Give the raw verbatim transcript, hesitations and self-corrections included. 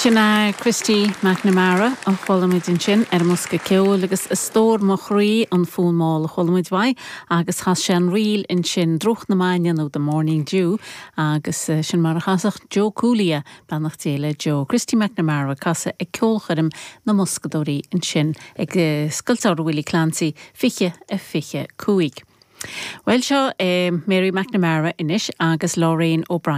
Sin é Christy McNamara a chuala muid ansin ar an mbosca ceoil agus a stór mo chroí an fonn mall a chuala muid uaidh agus chas sé an ríl ansin Drúcht na Maidine nó The Morning Dew agus eh, sin mar a chasadh Joe Cooley beannacht Dé le Joe. Christy McNamara casadh ag ceolchoirm na mBoscadóirí ansin ag eh, Scoil Samhraidh Willie Clancy fiche a fiche cúig. Well seo é Mary McNamara anois agus Lorraine O'Brien.